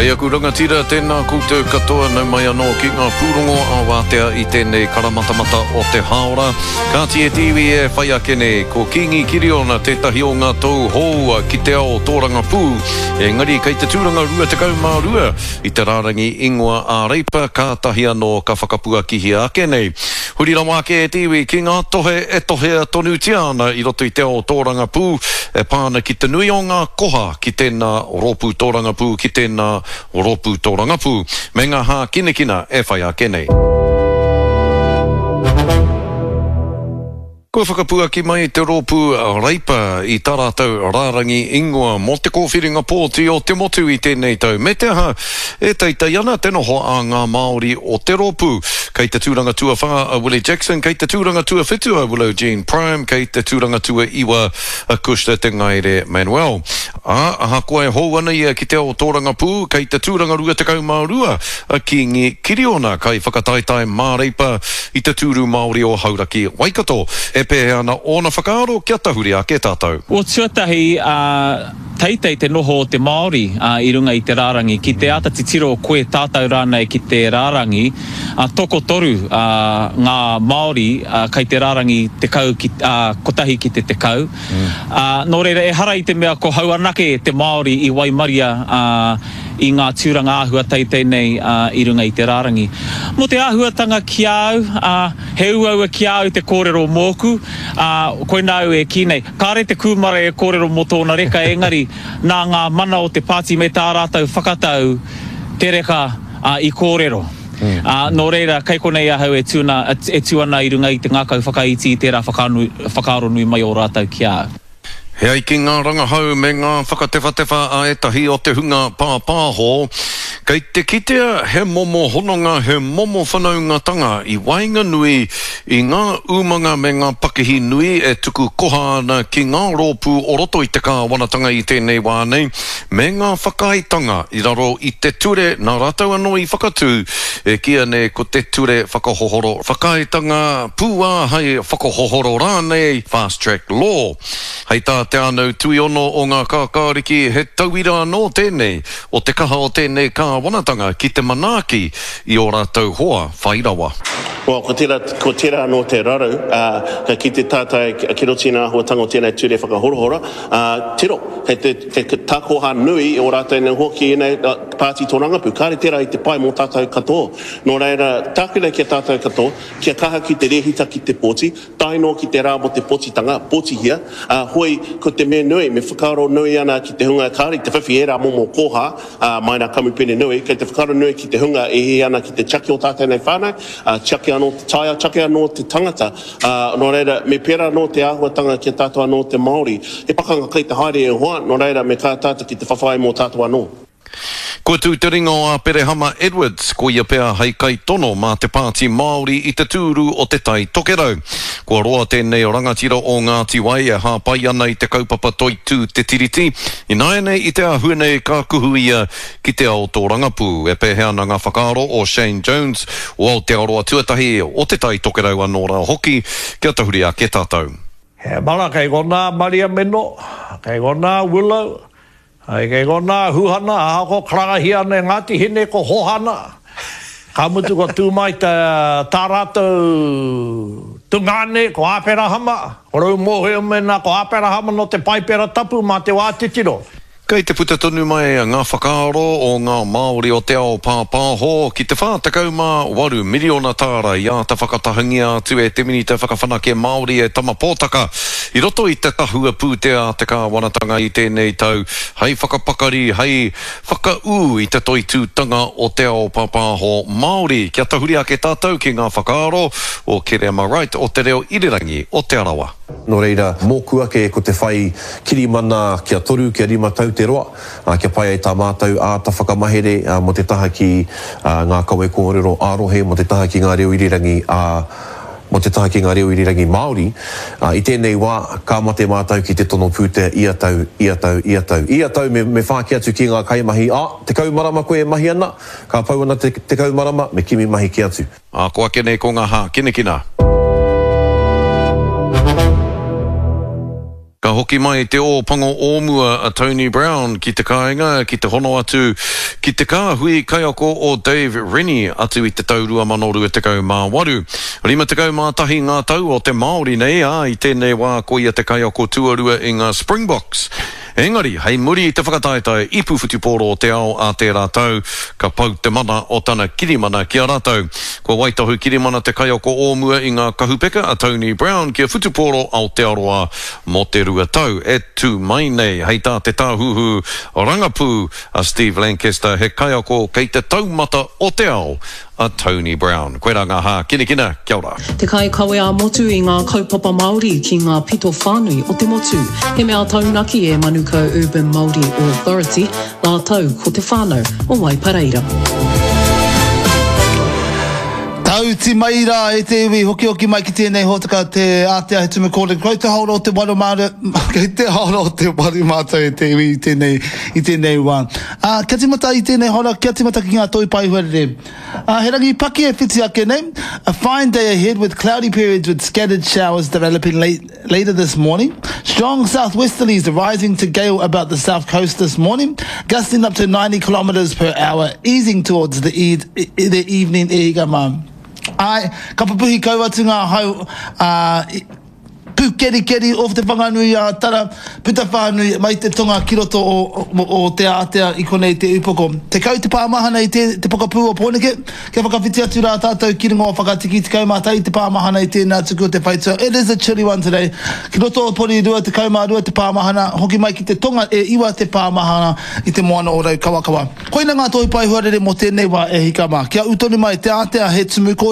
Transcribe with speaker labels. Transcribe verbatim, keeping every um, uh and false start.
Speaker 1: Kei aku rangatira, tēnā koutou katoa, nau mai anō ki ngā pūrongo ā-wātea i tēnei karamatamata o te hāora. Kāti e te iwi e whai ake nei, ko Kīngi Kiriona tētahi o ngā tou hou ki te ao tōrangapū, engari kei te tūranga rua tekau mā rua i te rārangi ingoa ā-Reipa kātahi anō ka whakapuakihia ake nei. Huri rawa ake e te iwi ki ngā tohe e tohea tonutia ana i roto i te ao tōrangapū e pā ana ki te nui o ngā koha ki tēnā rōpū tōrangapū ki tēnā rōpū tōrangapū, me ngā hākinakina e whai ake nei. Kua whakapuaki mai te rōpū Reipa i tā rātou rārangi ingoa mō te kōwhiringa pōti o te motu i tēnei tau, me te aha, e teitei ana te noho a ngā Māori o te rōpū. Kei te tūranga tuawhā a Willie Jackson, kei te tūranga tuawhitu a Willow Jean Prime, kei te tūranga tuaiwa a Cushla Te Ngaere Manuel. Ā, ahakoa e hou ana ia ki te ao tōrangapū, kei te tūranga rua tekau mā rua a Kīngi Kiriona, kaiwhakataetae māreipa i te tūru Māori o Hauraki Waikato. E pēhea ana ōna whakaaro kia tahuri ake tātou?
Speaker 2: Well, tuatahi, ā, teitei te noho o te Māori, ā, i runga i te rārangi. Ki te āta titiro koe tātou rānei ki te rārangi, ā, tokotoru, ā, ngā Māori, ā, kei te rārangi tekau ki, ā, kotahi ki te tekau. Ā, nō reira, ehara i te mea ko hau anake te Māori i waimaria, ā, i ngā tūranga āhua teitei nei, ā, i runga i te rārangi. Mō te āhuatanga ki a au, ā, he uaua ki a au te kōrero mōku, ā, koinā au e kī nei, kāre te kūmara e kōrero mō tōna reka, engari, nā ngā mana o te pāti me tā rātou whakatau te reka, ā, i kōrero. Ā, nō reira, kei konei ahau e tū ana, e tū ana i runga i te ngākau whakaiti i tērā whakaaro nui mai o rātou ki a au.
Speaker 1: E ai ki ngā rangahau me ngā whakatewhatewha a ētahi o te hunga pāpāho, kei te kitea he momo hononga, he momo whanaungatanga i waenganui i ngā umanga me ngā pakihi nui e tuku koha ana ki ngā rōpū o roto i te kāwanatanga i tēnei wā nei, me ngā whakaaetanga i raro i te ture nā rātou anō i whakatū, e kīia nei ko te Ture Whakahohoro Whakaaetanga Pūāhei Whakahohoro rānei, Fast Track Law. Hei tā Te Ānau Tuiono o Ngā Kākāriki, he tauira anō tēnei o te kaha o tēnei kāwanatanga ki te manaaki i ō rātou hoa whai rawa.
Speaker 3: Well, ko tērā, ko tērā anō te raru, ā, ka kite tātou ki roto i ngā āhuatanga o tēnei ture whakahorahora, ā, tiro, kei te, kei te takoha nui o rātou nei hoa ki ēnei pāti tōrangapū. Kāre tērā i te pai mō tātou katoa. Nō reira, tāku nei ki a tātou katoa, kia kaha ki te rēhita ki te pōti, tae noa ki te rā mō te pōtitanga, pōtihia, ā, hoi, ko te mea nui, me whakaaro nui ana ki te hunga kāore i te whiwhi ērā momo koha, ā, mai rā kamupene nui, kei te whakaaro nui ki te hunga e hiahia ana ki te tiaki o tātou nei whānau, ā, tiaki anō te taiao, tiaki anō te tangata, ā, nō reira, me pērā anō te āhuatanga ki a tātou anō te Māori. He pakanga kei te haere e hoa, nō reira, me kaha tātou ki te whawhai mō tātou anō.
Speaker 1: Kua tū te ringa o Aperehama Edwards, ko ia pea hei kaitono mā te Pāti Māori i te tūru o Te Tai Tokerau. Kua roa tēnei rangatira o Ngāti Wai e hāpai ana i te kaupapa toitū Te Tiriti, ināianei i te āhua nei ka kuhu ia ki te ao tōrangapū. E pēhea ana ngā whakaaro o Shane Jones o Aotearoa Tuatahi, o Te Tai Tokerau anō rā hoki, kia tahuri ake tātou.
Speaker 4: He mara kei konā Mariameno, kei konā Willow, Ai kei konā Huhana, ahakoa karangahia ana e Ngāti Hine ko Hohana, ka mutu kua tū mai tā rātou tungāne ko Āperahama, ko Rau-mōhio mēnā ko Āperahama nō te Paipera Tapu mā te wā titiro.
Speaker 1: Kei te puta tonu mai ngā whakaaro o ngā Māori o te ao pāpāho ki te whā tekau mā waru miriona tāra i āta whakatahangia atu e te Minita Whakawhanake Māori e Tama Potaka i roto i te tahua pūtea a te kāwanatanga i tēnei tau hei whakapakari, hei whakaū i te toitūtanga o te ao pāpāho Māori. Kia tahuri ake tātou ki ngā whakaaro o Kereama Wright o Te Reo Irirangi o Te Arawa.
Speaker 5: Nō reira, mōku ake ko te whai kirimana kia toru, kia rima tau te roa, kia pai ai tā mātou āta whakamahere mō te taha ki ngā kawe kōrero ā-rohe, mō te taha ki ngā reo irirangi ā, mō te taha ki ngā reo irirangi Māori. I tēnei wā, ka mate mātou ki te tono pūtea ia tau, ia tau, ia tau. Ia tau me, me whāki atu ki ngā kaimahi, ā, tekau marama koe e mahi ana, ka pau ana te tekau marama, me kimi mahi kē atu.
Speaker 1: Ā, ko ake nei ko ngā hākinakina. Ka hoki mai te ō pango o mua a Tony Brown ki te kāinga ki te hono atu ki te kāhui kaiako o Dave Rennie atu i te tau rua mano rua tekau mā waru. Rima tekau mā tahi ngā tau o te Māori nei, ā, i tēnei wā ko ia te kaiako tuarua i ngā Springboks. Engari, hei muri i te whakataetae ipu whutupōro o te ao ā tērā tau, ka pau te mana o tana kirimana ki a rātou. Kua waitohu kirimana te kaiako o mua i ngā kahupeka a Tony Brown ki a Whutupōro Aotearoa mō te rua tau e tū mai nei. Hei tā te tāhuhu rangapū a Steve Lancaster, he kaiako kei te taumata o te ao a Tony Brown. Koirā ngā hākinakina, kia ora.
Speaker 6: Te kaikawe ā-motu i ngā kaupapa Māori ki ngā pito whānui o te motu. He mea taunaki e Manukau Urban Māori Authority rātou ko te whānau o Waipareira.
Speaker 7: Tauti mai rā e te iwi, hokihoki mai ki tēnei hōtaka te ātea he tumu kōrero. Kei te haora o te waru mātou, kei te haora o te waru mātou e te iwi i tēnei, i tēnei wā. Ā, kia tīmata i tēnei haora, kia tīmata ki ngā toi paehuarere. Ā, he rangi paki e whiti ake nei, a fine day ahead with cloudy periods with scattered showers developing late, later this morning. Strong southwesterlies rising to gale about the south coast this morning, gusting up to ninety kilometres per hour, easing towards the, e the evening e hika mā. Āe, ka pupuhi kau atu ngā hau, ā, pūkerikeri o Te Whanganui-ā-Tara, puta whānui mai te tonga ki roto o, o, o Te Ātea i konei te upoko. Tekau te pāmahana i te, te pokapū o Pōneke, kia whakawhiti atu rā tātou ki runga o Whakatiki, tekau mā tahi te pāmahana i tēnā tuku o te whaitua. It is a chilly one today. Ki roto o Porirua, tekau mā rua te pāmahana, hoki mai ki te tonga e iwa te pāmahana i te moana o Raukawakawa. Koina ngā tohu pae huarere mō tēnei wā e hika mā. Kia ū tonu mai Te Ātea he tumu kōrero.